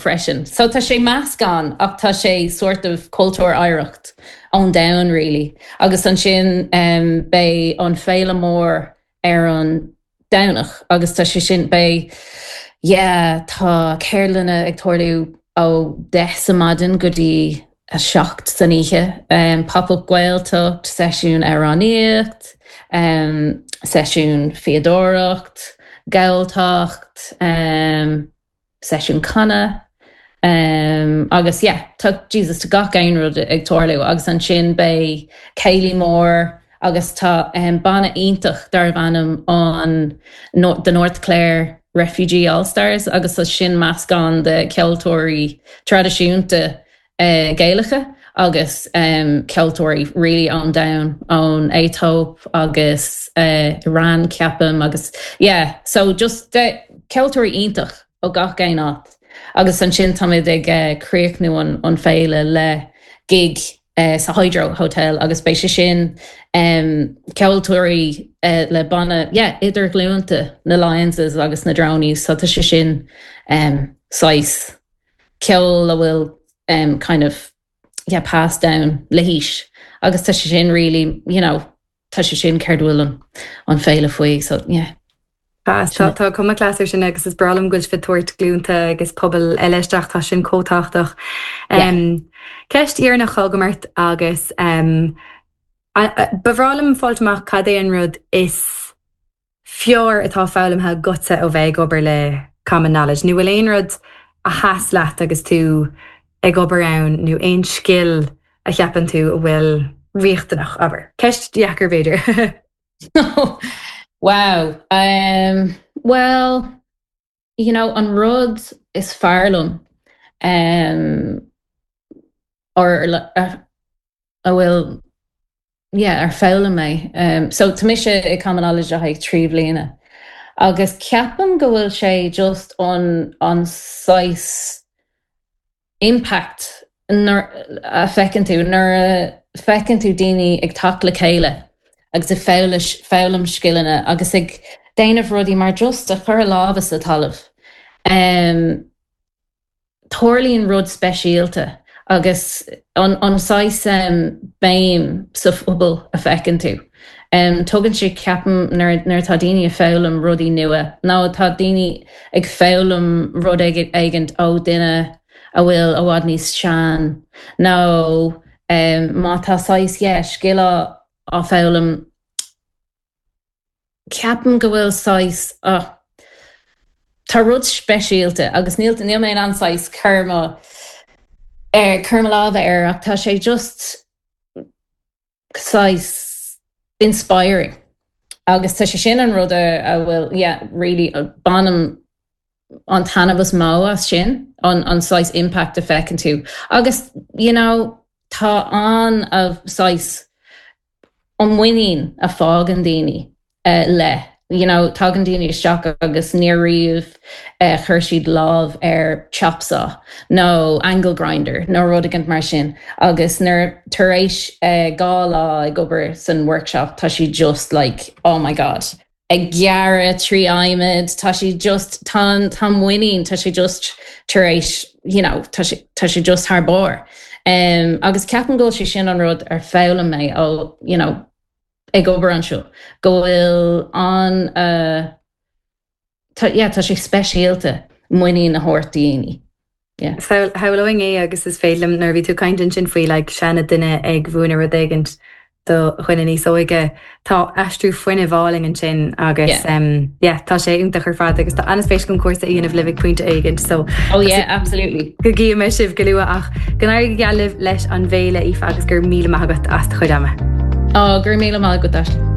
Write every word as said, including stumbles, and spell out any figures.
freisin. So tá sé meascán ach tá sé sort of cultúr oidhreacht ón domhan really. Agus ansin um, beidh an féile mór ar an Domhnach agus tá sé sin beidh yeah, tá ceardlanna ag tarlú ó deich sa maidin go dtí a seacht san oíche um, pop-up Gaeltacht, seisiún amhránaíocht, um, seisiún fíodóireacht, Gaeltacht, um, seisiún canadh. Um, agus yeah, tá Jesus tá gach aon rud ag tarlú agus ansin beidh céilí mór agus tá um, banna iontach darb ainm an no, the North Clare Refugee All-Stars agus tá sin meascán de ceoltóirí traidisiúnta uh, Gaelacha agus um, ceoltóirí really ón domhan ón Aetóip agus uh, Iran ceapaim agus yeah, so just de ceoltóirí iontach ó gach aon áit. Agus ansin táimid ag uh, críochnú an, an féile le gig uh, sa Hydro Hotel agus beidh sé sin um, ceoltóirí uh, le banna yeah, idirghlúnta na Lyonses agus na Drownies, so tá sé sin um, saghas ceol a bhfuil um, kind of yeah, passed down le haois. Agus tá sé sin really, you know, tá sé sin céard bhfuil an, an féile faoi, so yeah. Tá tá cuma class sin agus is breá liom go bhfuil sibh ag tabhairt glúnta agus pobal eile isteach tá sin chomh tábhachtach. Um, Ceist dheireanach agam ort agus um, ba bhreá liom fáil amach cad é an rud is fearr atá foghlamtha agatsa ó bheith ag obair le Common Knowledge. Nó bhfuil aon rud a sheas leat agus tú ag obair ann nó aon scil a cheapann tú a bhfuil riachtanach abair. Ceist deacair b'fhéidir. Wow. Um, well, you know, an rud is fearr liom um, or uh, a bhfuil yeah, ar foghlaim mé. Um, so tá mise i Common Knowledge a thaigh trí bliana. Agus ceapaim go bhfuil sé just an an saghas impact a feiceann tú nuair a feiceann tú daoine ag teacht le chéile agus ag foghlaim scileanna agus ag déanamh rudaí mar just a chur a lámha sa talamh. Um, Tarlaíonn rud speisialta agus an, an saghas um, béim sa phobal a feiceann tú. Um, tugann sé ceapaim nuair atá daoine ag foghlaim rudaí nua. Nó tá daoine ag foghlaim rud éigin ó duine a bhfuil i bhfad níos sine nó um, má tá saghas yeah, scil á foghlaim ceapaim go bhfuil saghas oh, Tá rud speisialta agus níl níl mé an saghas cur er, cur láimh air ach tá sé just saghas inspiring. Agus tá sé sin an rud a bhfuil yeah, really bainim an taitneamh is mó as sin an an saghas impact a feiceann tú. Agus you know, tá an a saghas an muinín a fhaigheann daoine uh, le. You know, tagann daoine isteach agus ní riamh uh, chuir siad lámh ar chop saw nó angle grinder nó rud éigin mar sin agus nuair tar éis uh, dhá lá ag obair san workshop tá sí just like oh my god ag gearradh trí adhmad tá sí just tá tá muinín tá sé just tar éis you know tá sé tá sé just thar barr um, agus ceapaim go sé sin an rud ar foghlaim mé ó you know ag obair anseo go bhfuil an uh, tá yeah, tá sé speisialta muinín a thabhairt daoine. Yeah. Shamhlóinn é agus is féidir liom nuair bhí tú caint sin faoi like, seana duine ag múineadh rud éigin do dhuine níos óige Tá aistriú fuinnimh álainn ansin agus yeah. um, yeah, tá sé iontach ar fad agus tá an-spéis agam cúrsa a dhéanamh libh ag pointe éigin so Oh yeah, absolutely. Go gcífidh mé sibh go luath ach go n-éirí go geal libh leis an bhféile Aoife agus gur míle maith agat as do chuid ama. Ó gur míle maith agat.